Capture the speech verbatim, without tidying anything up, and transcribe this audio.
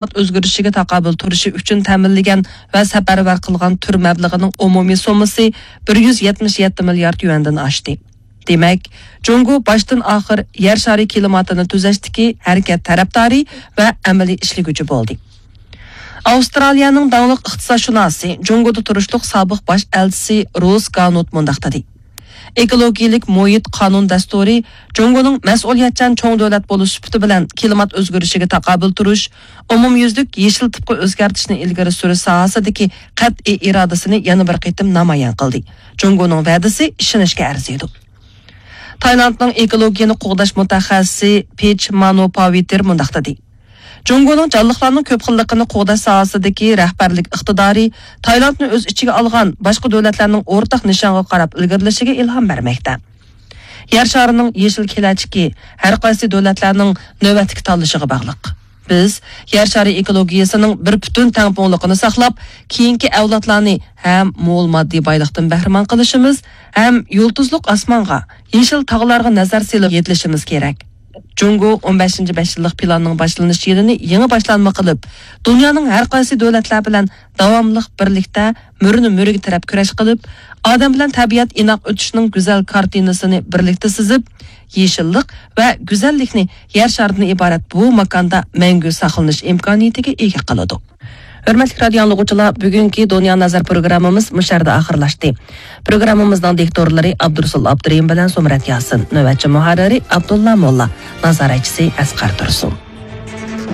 كىلىمات ئۆزگىرىشىگە تاقابىل تۇرۇشى ئۈچۈن تەمىنلىگەن ۋە سەپەرۋەر قىلغان تۈر مەبلىغىنىڭ ئومۇمىي سوممىسى بىر يۈز يەتمىش يەتتە مىليارد يۈەندىن ئاشتى. دېمەك، جۇڭگو باشتىن ئاخىر يەر شارى كىلىماتىنى تۈزەشتىكى ھەرىكەت تەرەپدارى ۋە ئەمەلىي ئىشلىگۈچى بولدى. ئاۋسترالىيەنىڭ داڭلىق ئىقتىسادشۇناسى، جۇڭگودا تۇرۇشلۇق سابىق باش ئەلچىسى روس گانوت مۇنداق دېدى: ئېكولوگىيەلىك مۇھىت قانۇن دەستۇرى جۇڭگونىڭ مەسئۇلىيەتچان چوڭ دۆلەت بولۇش سۈپىتى بىلەن كىلىمات ئۆزگىرىشىگە تاقابىل تۇرۇش، ئومۇميۈزلۈك يېشىل تىپقا ئۆزگەرتىشنى ئىلگىرى سۈرۈش ساھەسىدىكى قەتئىي ئىرادىسىنى يەنە بىر قېتىم نامايان قىلدى. جۇڭگونىڭ ۋەدىسى ئىشىنىشكە ئەرزىيدۇ. تايلاندنىڭ ئېكولوگىيەنى قوغداش مۇتەخەسسىسى پېچ مانو پاۋىتېر مۇنداق دېدى: جۇڭگونىڭ جانلىقلارنىڭ كۆپ خىللىقىنى قوغداش ساھەسىدىكى رەھبەرلىك ئىقتىدارى تايلاندنى ئۆز ئىچىگە ئالغان باشقا دۆلەتلەرنىڭ ئورتاق نىشانغا قاراپ ئىلگىرىلىشىگە ئىلھام بەرمەكتە. يەر شارىنىڭ يېشىل كېلەچىكى ھەر قايسى دۆلەتلەرنىڭ نۆۋەتتىكى تاللىشىغا باغلىق. بىز يەر شارى ئېكولوگىيەسىنىڭ بىر پۈتۈن تەڭپۇڭلۇقىنى ساقلاپ، كېيىنكى ئەۋلادلارنى ھەم مول ماددىي بايلىقتىن بەھرىمەن قىلىشىمىز، ھەم يۇلتۇزلۇق ئاسمانغا، يېشىل تاغلارغا نەزەر سېلىپ يېتىلىشىمىز كېرەك. جۇڭگو ئون بەشىنچى بەش يىللىق پىلاننىڭ باشلىنىش يىلىنى يېڭى باشلانما قىلىپ، دۇنيانىڭ ھەر قايسى دۆلەتلەر بىلەن داۋاملىق بىرلىكتە مۈرىنى مۈرىگە تىرەپ كۈرەش قىلىپ، ئادەم بىلەن تەبىئەت ئىناق ئۆتۈشىنىڭ گۈزەل كارتىنىسىنى بىرلىكتە سىزىپ، يېشىللىق ۋە گۈزەللىكنى يەر شارىدىن ئىبارەت بۇ ماكاندا مەڭگۈ ساقلىنىش ئىمكانىيىتىگە ئىگە قىلىدۇ. ھۆرمەتلىك رادىئو ئاڭلىغۇچىلار، بۈگۈنكى دۇنيا نەزەر پروگراممىمىز مۇشۇ يەردە ئاخىرلاشتى. پروگراممىمىزنىڭ دىكتورلىرى ئابدۇرۇسۇل ئابدۇرېھىم بىلەن سۇمرەت ياسىن، نۆۋەتچى مۇھەررىرى ئابدۇللا موللا، نازارەتچىسى ئەسقەر تۇرسۇن.